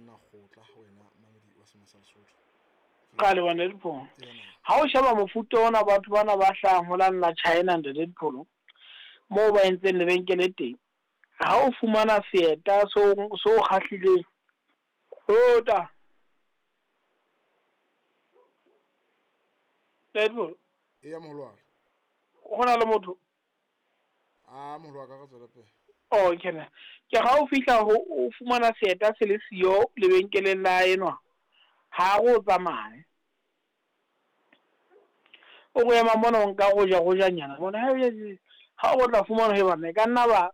Monna kgotla wena mamedi wa Sema sa Lesotho. Ka leboha Ntate Dipholo. Ha o sheba mofuta ona batho bana ba hlahang ho la nna China Ntate Dipholo, moo ba entseng lebenkele teng, ha o fumana seeta so so kgahlileng, ota. Ntate Dipholo. Eya moholo wa ka. Ho na le motho. A moholo wa ka re tswele pele. Okay ne. Ke ga o fihla ho o fumana seeta se le siyo lebenkeleng la enwa, ha re o tsamaye. O go ema mona o nka go ja go janyana mona ha o tla fumana he bana e ka nna ba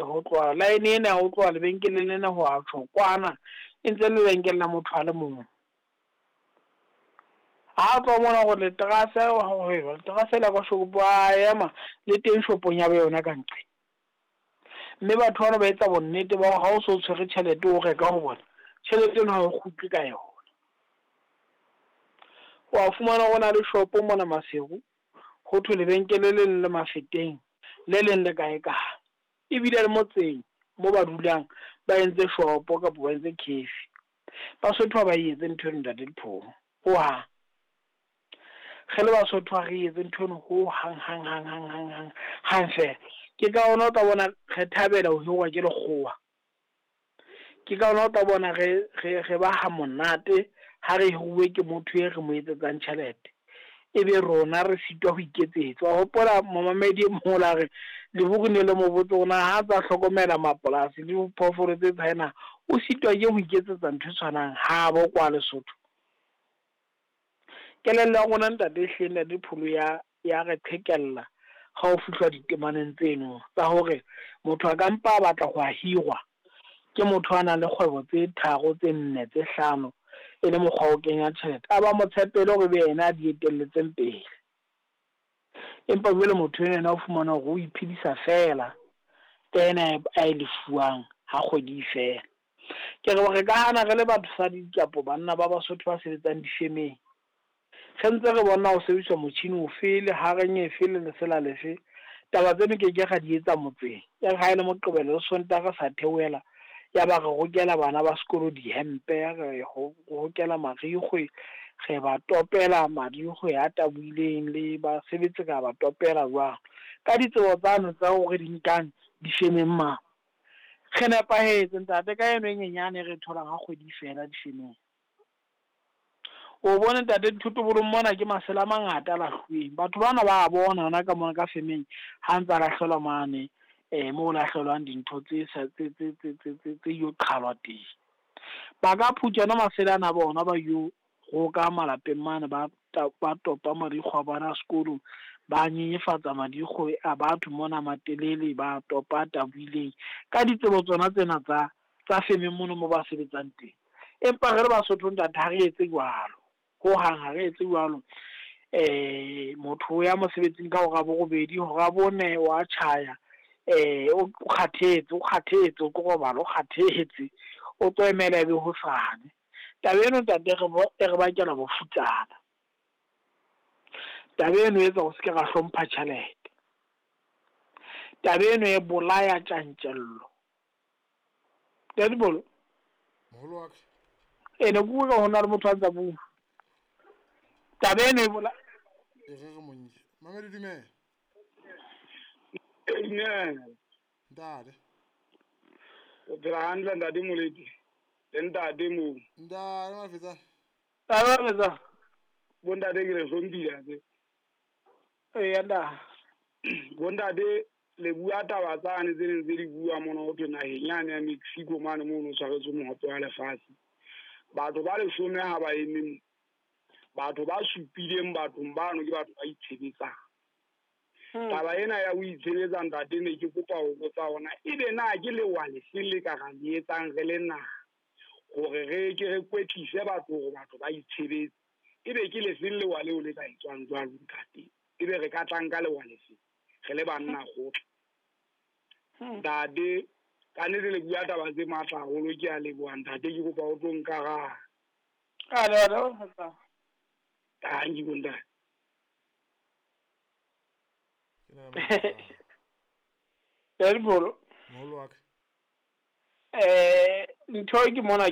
ho tloha line ena ho tloha lebenkeleng lena ho a tjho kwana e ntse le lebenkele la motho a le mong. Ha tloha mona gore leterase leterase la kwa shopo a ema le teng shopong ya yona ka nqe. Mme batho bana ba etsa bonnete ba hore ha o so tshwere tjhelete o reka ho bona, tjhelete eno ha o kgutle ka yona. Wa fumana ho na le shopo mona Maseru, ho thwe lebenkele le leng le Mafeteng, le leng le kae kae. Ebile le motseng mo ba dulang ba entse shopo kapa ba entse cafe. Basotho ha ba e etse ntho eno Ntate Dipholo, hohang. Re le Basotho ha re etse ntho eno ho hang hang hang hang hang hang hang fela. Ke ka hona o tla bona re thabela ho hirwa ke lekgowa. Ke ka hona o tla bona re re re ba ha monate ha re hiruwe ke motho e re mo etsetsang tjhelete. Ebe rona re sitwa ho iketsetsa. Wa hopola momamedi e mong o la re Lebohore ne le mo botse hore na ha tsa hlokomela mapolasi le diphoofolo tse tshwana, o sitwa ke ho iketsetsa ntho e tshwanang habo kwa Lesotho. Kelello ya rona ntate ehlile Ntate Pholo ya ya re qhekella ha o fihlwa ditemaneng tseno tsa hore motho a ka mpa a batla ho a hirwa ke motho a nang le kgwebo tse tharo tse nne tse hlano e le mokgwa wa ho kenya tjhelete, a ba mo tshepele hore ebe yena a di etelletseng pele. Empa jwale motho ena yena o fumana hore o iphedisa fela ka ena a e lefuwang ha kgwedi e fela. Ke re re ka hana re le basadi kapo banna ba Basotho ba sebetsang difemeng, re ntse re bona ho sebediswa motjhini ofe le hareng efe le lesela lefe, taba tseno ke ke ra di etsa motseng. E re ha e le Moqebelo le Sontaha re sa theohela, ya ba re rokela bana ba sekolo dihempe, re rokela marikgwe, re ba topela marikgwe a tabohileng le basebetsi ra ba topela jwang. Ka ditsebo tsano tsa hore di nkang difemeng mane. Re nepahetse ntate ka eno e nyenyane e re tholang ha kgwedi fela difemeng. O bone ntate dithotobolong mona ke masela a mangata a lahluweng. Batho bana ba bona hona ka mona ka femeng ha ntsa lahlelwa mane moo lahlelwang dintho tse sa tse tse tse tse tse tse yo qhalwa teng. Ba ka phutha ona masela ana a bona ba yo roka malapeng mane ba ba topa marikgwe a bana sekolo, ba nyenyefatsa marikgwe a batho mona matelele, ba topa tabohileng ka ditsebo tsona tsena tsa tsa femeng mono mo ba sebetsang teng. Empa re le Basotho ntate ha re etse jwalo, hohang ha re etse jwalo. Motho o ya mosebetsing ka hora borobedi, hora bone wa tjhaya, o kgathetse, o kgathetse, o tlo robala, o kgathetse, o tlo emela ebe hosane. Taba eno ntate e re bakela bofutsana. Taba eno e etsa hore se ke ra hlompha tjhelete. Taba eno e bolaya tjantjello. Ntate Bolo. Moholo wa ka. E ne ke utlwa ho na le motho a ntsa bua. Taba eno e bola. E re re monye. Mamedi dumela. Dumela. Ntate. O phela hantle ntate Moleti. Le ntate moo. Ntate Mafetsa. Ntate Mafetsa. Bo ntate ke le hlomphile tse. Eya nda. Bo ntate le bua taba tsane tse neng tse di bua mona ho thwe naheng yane ya Mexico mane moo no tshwaretswe mohope wa lefatshe. Batho ba leshome ha ba eme mo. Batho ba supileng bathong bano ke batho ba itshebetsang. Taba ena ya ho itshebetsa ntate ne ke kopa ho botsa hona ebe na ke lewa lefeng le ka ra le etsang re le naha hore re ke re kwetlise batho hore batho ba itshebetse. Ebe ke lefeng lewa leo le ka etswang jwalo ntate? Ebe re ka tlang ka lewa lefeng re le banna kgotla? Ntate ka nnete le bua taba tse matla haholo, ke a leboha ntate, ke kopa o tlo nkaraba. A le le Thank you ntate. Ntate Bolo. Moholo wa ka. Ntho e ke mona